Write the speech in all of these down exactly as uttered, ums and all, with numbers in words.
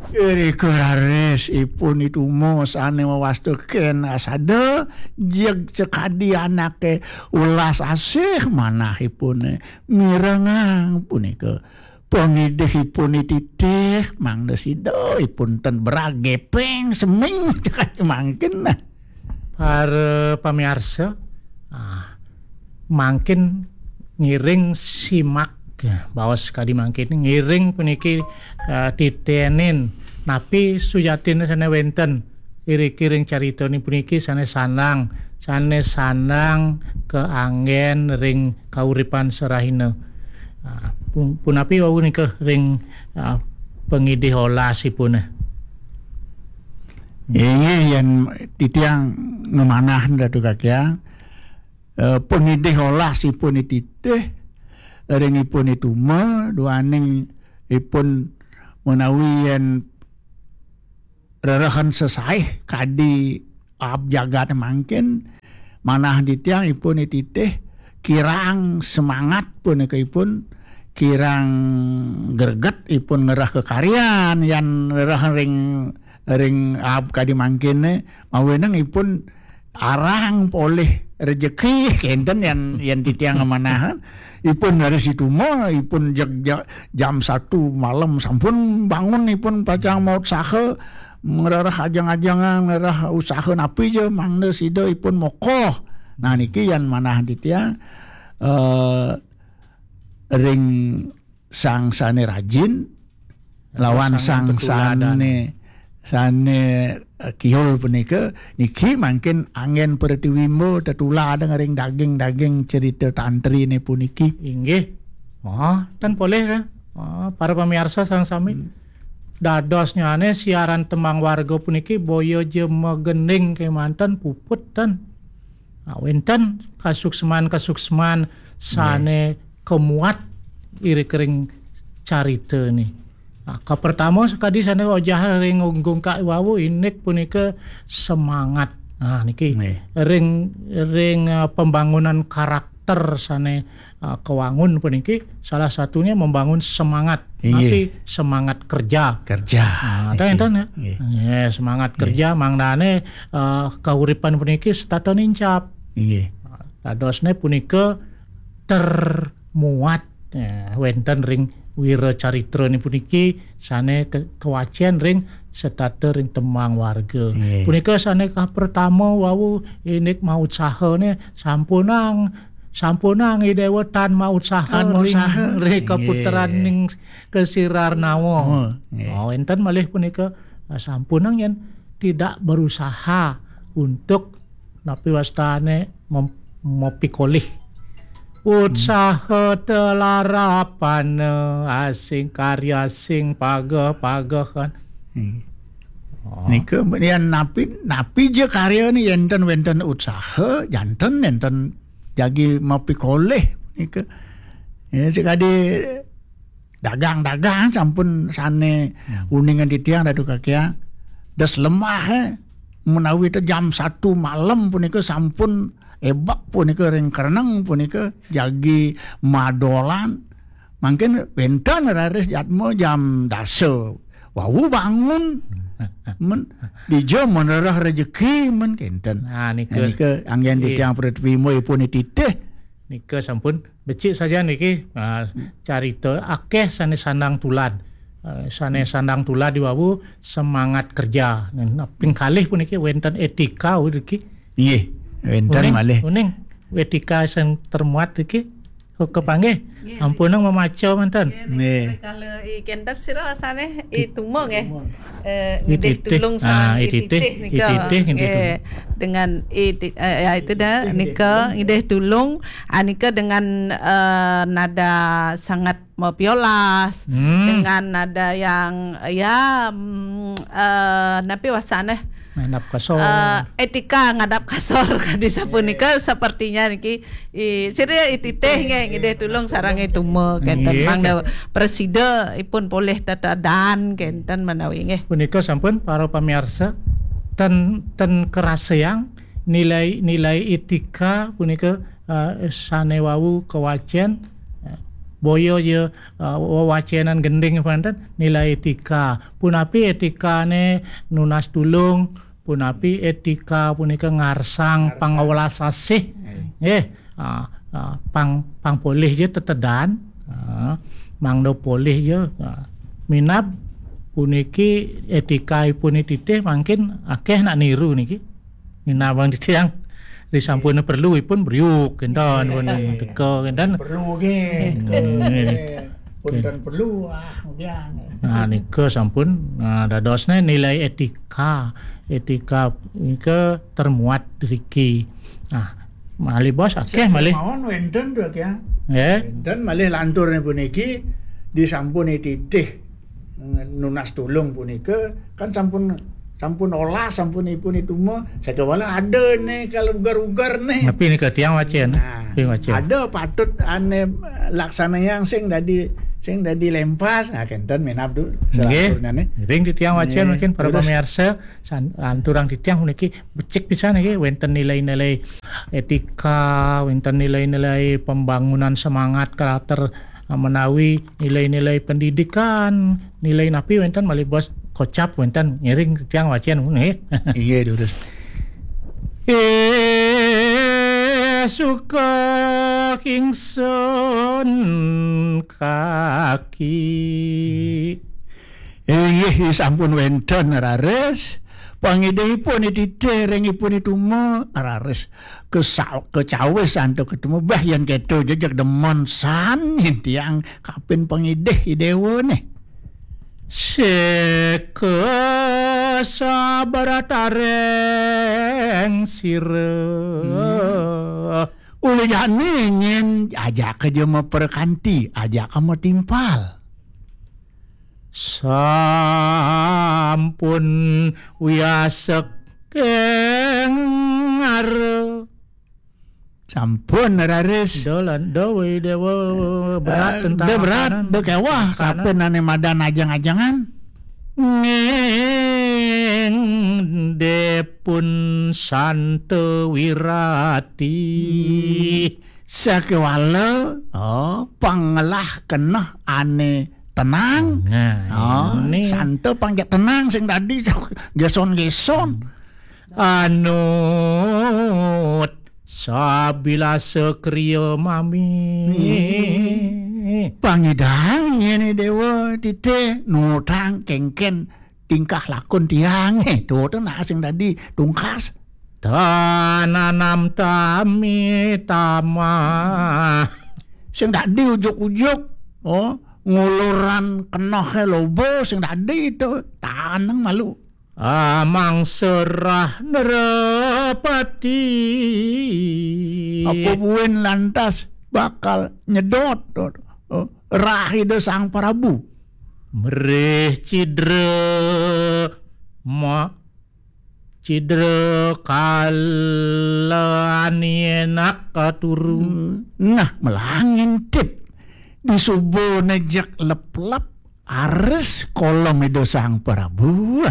Irika raris ipun I Tuma sané wawasta kén asada, jeg sakadi anaké welas asih manahipuné, mirengang punika pangidihipun I Titih, mangda sida ipun ten berag gepeng seming cekadi mangkin. Nah, para pamiarsa, ah, mangkin ngiring simak, ya, baos kadi mangkin, ngiring puniki, ah, titenin napi sujatiné sané wénten iriki ring caritané puniki sané sandang, sané sandang kaanggén ring kauripan sarahina. Ah, pun-, punapi wau nika ring, ah, pangidih olasipun? Inggih, yén titiang ngemanah Datu Kakiang, eh, pangidih olasipun I Titih, ring ipun I Tuma, duaning ipun menawi yén rerehen sesaih kadi aab jagat mangkin, manah titiang ipun I Titih kirang semangat punika ipun, kirang greget ipun ngerah kekaryan, yan rereh ring, ring aab kadi mangkin, mawinan ipun arang polih rejeki, kénten yan, yan titiang ngemanahan. Ipun dari situma, ipun jeg-, ja-, jam satu malam sampun bangun, ipun pacang mautsaha, ngrereh ajeng-ajengan, ngrereh usaha napi ja, mangda sida ipun mokoh. Nah, niki yan manah titiang, eh, ring sang sané rajin, lawan sang sané, sané, eh, kiul punika, niki mangkin anggén pratiwimba tetuladan ring daging-daging cerita tantriné puniki. Inggih. Oh, tan polih, kan? Oh, para pamiarsa sareng sami. Hmm. Dadosnyané siaran Tembang Warga puniki boya ja magending kémanten puput, tan. Ah, wénten kasuksman-kasuksman sané kemuat iriki ring carita ni. Ah, kapertama sakadi sané ojah ring ungkak wau, indik punika semangat. Nah, niki ring, ring, ah, pembangunan karakter sané, ah, kewangun puniki salah satunya membangun semangat. Inggih. Tapi semangat kerja. Kerja. Ah, niki. Enten, ya? Inggih. Nggih, semangat kerja mangdané, eh, kauripan puniki setata nincap. Inggih. Dadosné punika termuat, ya, wénten ring wira caritrané puniki sané ke-, kawacén ring setata ring Tembang Warga. Inggih. Punika sané kapertama wau indik mautsahané sampunang, sampunang I Déwa tan mautsaha ring, ring kaputran ning kasirarnawa. Oh, nggih. Oh, enten malih punika, ah, sampunang yén tidak berusaha untuk napi wastané mem-, mapikolih. Hmm. Utsaha telarapana asing karya sing pageh-pagehan. Hmm. Oh. Nika, yén napi, napi ja karyané yén ten wénten utsaha, janten nénten jagi mapikolih nika. Ya, sakadi dagang-dagang sampun sané uningan titiang Datu Kakiang. Das lemah, eh. Menawi té jam satu malam punika sampun ebak punika ring kereneng punika jagi madolan. Mangkin wénten raris jadma jam dasa. Wau bangun. Men, dija menerah rejeki men kénten. Nah, nika. Nah, nika anggén titiang pratiwimba ipun I Titih. Nika sampun becik saja niki, ah, carita akéh sané sandang tulad. Ah, sané sandang tulad diwawu semangat kerja. Nah, ping kalih puniki wénten etika niki. Nggih, wénten malih. Uning, etika sing termuat niki. Kepanggih, ampunang mamaca manten. Nggih. Kala I Kénten sira asané I Tuma nggih. Eh, I Titih. Tulung sareng I Titih nika. I Titih, nggih. Nggih, dengan I Ti-, eh, ya itu dah, nika ngidih tulung, ah, nika dengan, eh, nada sangat mapiolas, dengan nada yang, ya, mm, eh, napi wastané? Ngadap kasor. Eh, etika ngadap kasor kadi sapunika sepertinya niki. I, sira I Titih nggih, ngidih tulung sareng I Tuma kénten. Nggih. Mangda prasida ipun polih tetedan kénten menawi nggih. Punika sampun para pamiarsa, ten, ten keraseang nilai, nilai etika punika, eh, sané wau kawacén, eh, boya ya, eh, wewacénan gending panten nilai étika. Punapi étikané nunas tulung, punapi étika punika ngarsang pangawelas asih. Nggih, ah, ah, pang, pang polih ya tetedan, ah, mangda polih ya, ah, minab puniki étika ipun titih mangkin akéh nak niru niki. Minab bang titiang, disampun perlu ipun briuk, kénten, pun teka, kénten. Perlu nggih. Hmm. Pun kan perlu, ah, kemudian. Nah, nika sampun, nah, dadosné nilai étika. Étika nika termuat riki. Nah, malih bos, akéh malih. Mawon wénten tuh, ya. Nggih. Wénten malih lanturné puniki disampun titih nunas tulung punika kan sampun, sampun olah, sampun ipun ituma, sakéwala ada nih kalau ugar-ugar nih. Tapi nika tiang wacén. Nah, tiang wacén. Ada patut ané laksanayang sing dadi, sing dadi lempas. Nah, kénten minab du, nggih, selanturnya nih. Ring titiang wacén. Nggih, mungkin para terus pamiarsa, san-, lanturang titiang puniki becik pisan niki wénten nilai-nilai étika, wénten nilai-nilai pembangunan semangat karakter, ah, menawi nilai-nilai pendidikan, nilai napi wénten malih bos kocap wénten ngiring tiang wacén nggih. Inggih, durus. Eh, suka kingsun kaki. Inggih, sampun wénten raris. Pangidihipun titih ring ipun ituma raris. Kesa-, kecawis antuk ketemu, bah, yén kéto jejeg demen san yén tiang kapin pangidih i déwa nih. Seka sabratareng sira. Hmm. Uli jani nyén ajaka ja maperkanti, ajaka matimpal. Sampun wiasek kengara. Sampun raris. Dolan, do, wé, déwa, berat. Eh, tentang da berat, makanan. Da kéweh, makanan. Kapin ané madan ajeng-ajengan. Ning depun santa wirati. Hmm. Sakéwala, oh, pangelah keneh ané tenang. Nah, oh, ini. Santa pang ja tenang sing dadi géson-géson. Anut sabilasa kriya mami. Ih. Pangidang nyén déwa titih nutang kéngkén tingkah lakun tiangé. Tuh, tuh, nah, sing dadi tungkas. Tananam tami tamah. Sing dadi ujuk-ujuk, oh, nguluran kenohé loba, sing dadi itu taneng malu. Amang serah nerepati. Apa buin lantas bakal nyedot, oh, rah Ida Sang Prabu. Mrih cidra ma-, cidra kalan yenak katuru. Hmm. Nah, melangin tip. Disuba nejek lep-lep ares kolom Ida Sang Prabu.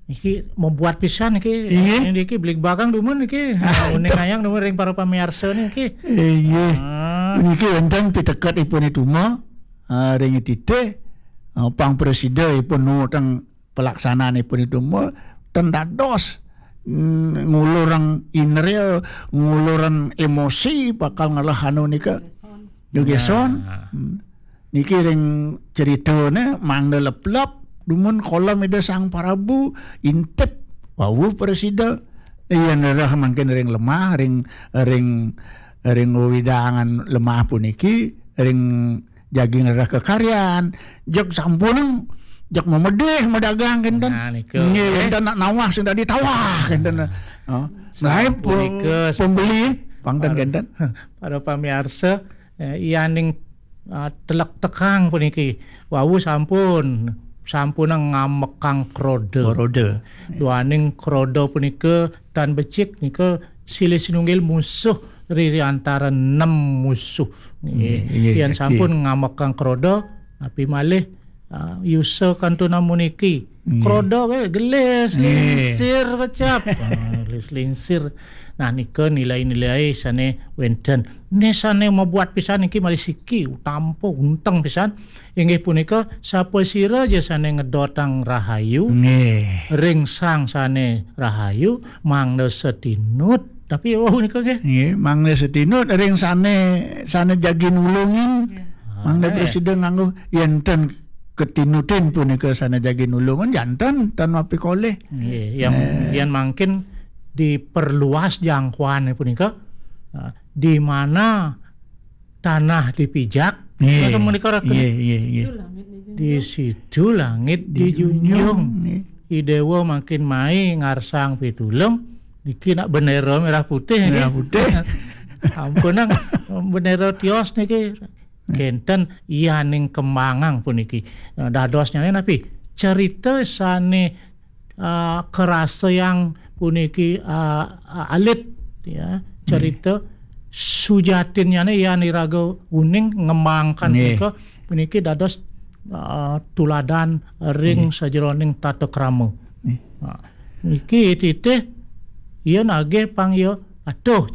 Niki membuat pisan niki. Iya. Niki beli bakang dumun niki. Ah, uning itu. Ayang dumun ring para pamiarsa niki. Iya. Ah. Niki wonten piteket ipun ituma, ah, ring titih, ah, pang presida ipun nu teng pelaksanaan ipun itu mah ten dados, mm, ngulurang indria, ngulurang emosi bakal ngelah anu nika. Gegeson. Nah. Hmm. Niki ring ceritane mangda leplep dumun kolom Ida Sang Prabu intip wau presida. Iya nerah mangkin ring lemah, ring, ring, ring wewidangan lemah puniki, ring jagi ngrereh kekaryan, jeg sampunang, jeg memedih medagang kenten. Nah, nika. Nggih, kenten nak nawah sing dadi tawah kenten. Nah. Oh. Sapunika, pembeli pangten para, kenten. Para pamiarsa, eh, yaning, ah, telek tekang puniki. Wau sampun, sampunang ngamekang kroda. Kroda. Duaning kroda punika tan becik nika silih sinunggil musuh riri antara nem musuh. Nggih, nggih, nggih, yen sampun ngamekang kroda, napi malih, ah, yusa kantun namuniki. Nggih. Kroda wae gelis, nggih, lingsir kecap. Ah, Selingsir. Nah, nika nilai-nilai sane wenten. Ne sane mabuat pisan niki malih siki, utampa unteng pisan. Inggih punika, sapasira ja sane ngedotang rahayu, nggih, ring sang sane rahayu, mangda satinut. Tapi wau nika nggih. Nggih, mangda satinut ring sane, sane jagi nulungin. Nggih. Mangda, ah, prasida nganggo yen ten katinutin punika sane jagi nulungan, janten tan mapikolih. Nggih, yang, eh, yang mangkin diperluas jangkauan punika, ah, di mana tanah dipijak, nggih, punika menika reken. Nggih, nggih, nggih. Di situ langit dijunjung. Dijunjung, nggih. I Dewa mangkin mai ngarsang pitulung, niki nak bendera merah putih, nggih. Merah putih. Ampunang, bendera tios niki. Kenten yaning kembangang puniki. Nah, dadosnyane napi? Cerita sane, ah, karasa yang puniki, ah, ah, alit, ya. Nggih. Cerita sujatinnyane yan iraga uning ngembangkan, nggih, punika, puniki dados, ah, tuladan ring, nggih, sajeroning tata krama. Nggih. Nah, niki titih iya nagih pang iya atuh